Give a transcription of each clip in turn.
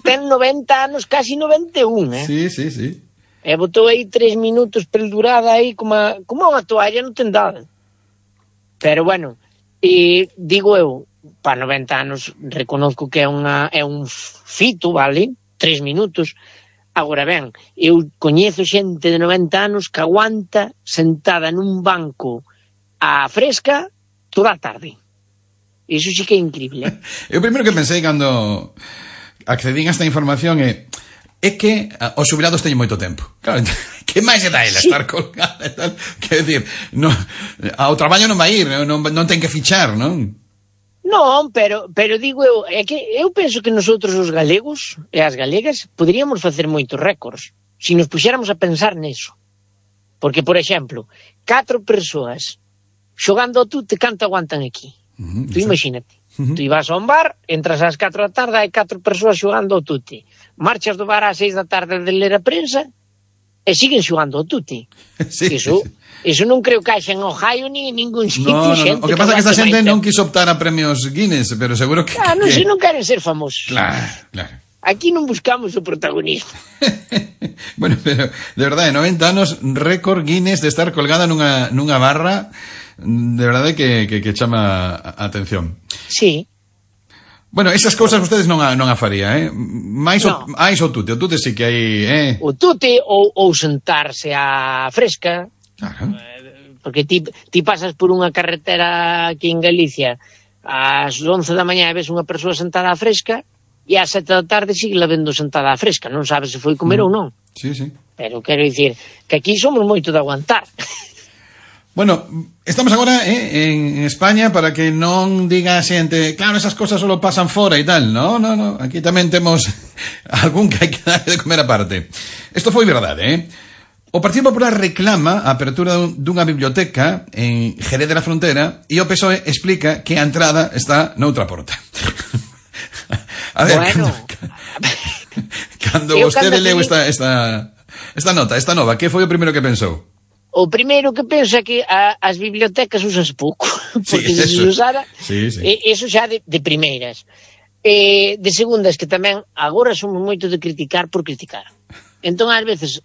ten 90 anos, casi 91, Sí, sí, sí. E botou aí 3 minutos perdurada aí como unha toalla, non ten dado. Pero bueno, digo eu, para 90 anos reconozco que é un fito, vale? 3 minutos. Agora ben, eu coñezo xente de 90 anos que aguanta sentada nun banco a fresca toda a tarde. Iso sí que é increíble. Eu primeiro que pensei cando accedín a esta información é que os xubilados teñen moito tempo. Claro, que máis é da ela estar colgada e tal? Quer decir, ao traballo non vai ir, non ten que fichar, non? Non, pero digo eu, é que eu penso que nosotros os galegos e as galegas poderíamos facer moitos récords se nos puxéramos a pensar neso. Porque, por exemplo, 4 persoas xogando ao tute, canto aguantan aquí? Tú imagínate. Tú ibas a un bar, entras ás 4 da tarde, hai 4 persoas xogando ao tute. Marchas do bar ás 6 da tarde de ler a prensa e siguen xogando ao tute. Sí, Eso non creo que haxa en Ohio ni en ningún sitio. No. O que pasa é que esta xente non quiso optar a premios Guinness, pero seguro que... Non sei, non queren ser famosos. Claro. Aquí non buscamos o protagonismo. Bueno, pero de verdade, 90 anos, récord Guinness de estar colgada nunha barra, de verdade que chama a atención. Sí. Bueno, esas cousas ustedes non a faría, Mais o tute, o tute sí que hai, O tute ou sentarse a fresca. Claro. Porque ti pasas por unha carretera aquí en Galicia ás 11 da mañá e ves unha persoa sentada a fresca e ás 7 da tarde sigue la vendo sentada a fresca, non sabes se foi comer ou non. Sí. Pero quero dicir que aquí somos moito de aguantar. Bueno, estamos agora en España para que non diga a xente, claro, esas cosas solo pasan fora e tal. No, aquí tamén temos algún que hai que dar de comer aparte. Isto foi verdade, O Partido Popular reclama a apertura dunha biblioteca en Jerez de la Frontera e o PSOE explica que a entrada está noutra porta. A ver, bueno, cando vostede leu esta nota, esta nova, que foi o primeiro que pensou? O primeiro que penso é que as bibliotecas usas pouco, porque se usara, eso xa de primeiras. De segundas, que tamén agora somos moito de criticar por criticar. Entón, ás veces,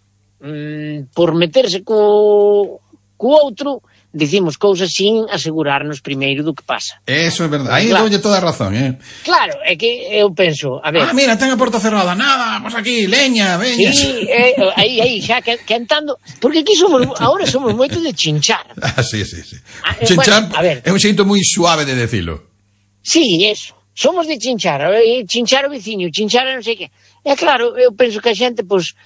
por meterse co outro, dicimos cousas sin asegurarnos primeiro do que pasa. Eso é verdade, aí doulle toda a razón, Claro, é que eu penso, a ver... mira, ten a porta cerrada, nada, pues aquí, leña, veña... Sí, aí, xa cantando... Porque aquí ahora somos moito de chinchar. Sí. Chinchar, bueno, a ver, é un xeito moi suave de decilo. Sí, eso. Somos de chinchar, chinchar o veciño, chinchar non sei que. É claro, eu penso que a xente, pois,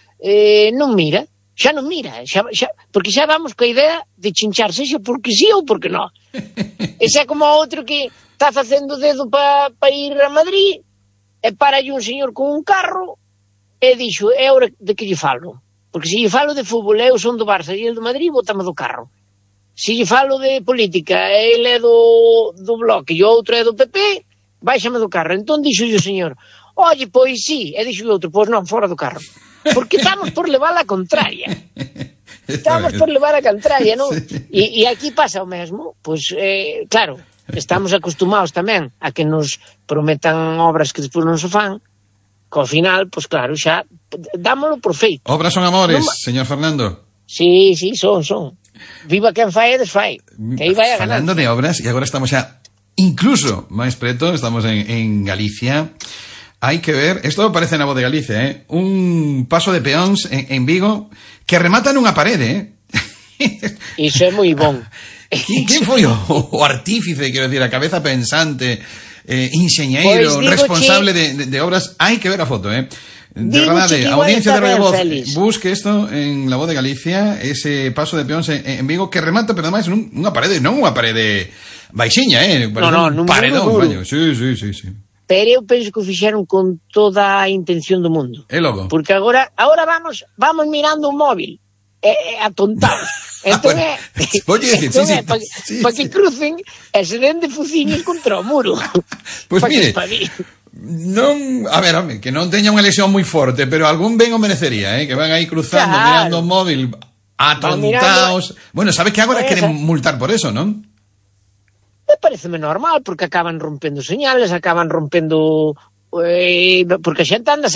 non mira, xa non mira, porque xa vamos coa idea de chinchar, sexa porque sí ou porque non. Ese é como outro que está facendo dedo para ir a Madrid, e para un señor con un carro, e dixo, é hora de que lle falo. Porque se lle falo de fútbol, eu son do Barça e el do Madrid, bótame do carro. Se lle falo de política, ele é do Bloque e o outro é do PP, báixame do carro. Entón dixo o señor, oye, pois sí, e dixo o outro, pois non, fora do carro. Porque estamos por levar a contraria. Estamos por levar a contraria, non? E aquí pasa o mesmo. Pois, claro, estamos acostumados tamén a que nos prometan obras que despois non se fan, que ao final, pois claro, xa dámolo por feito. Obras son amores, señor Fernando. Sí, son. Viva quen fai e desfai. Que aí vai a ganar. Falando de obras, e agora estamos xa incluso máis preto, estamos en Galicia. Hai que ver, isto aparece na Voz de Galicia, un paso de peóns en Vigo que remata nunha parede, Iso é moi bon. Quen foi o artífice, quero decir, a cabeza pensante, enxeñeiro, pues responsable de obras? Hai que ver a foto, De verdade, a audiencia de Radio Voz, busque isto en La Voz de Galicia, ese paso de peóns en Vigo que remata, pero ademais nunha parede, non unha parede baixiña, un paredón, baño. Sí. Pero eu penso que o fixeron con toda a intención do mundo. É logo. Porque agora vamos mirando un móvil, atontados. Entón para que crucen e se den de fuciños contra o muro. Pois mire, non, a ver, home, que non teña unha lesión moi forte, pero algún ben o merecería, que van aí cruzando, mirando o móvil, atontados. Bueno, sabe que agora queren multar por eso, non? Me pareceme normal, porque acaban rompendo señales, acaban rompendo... porque a xente andase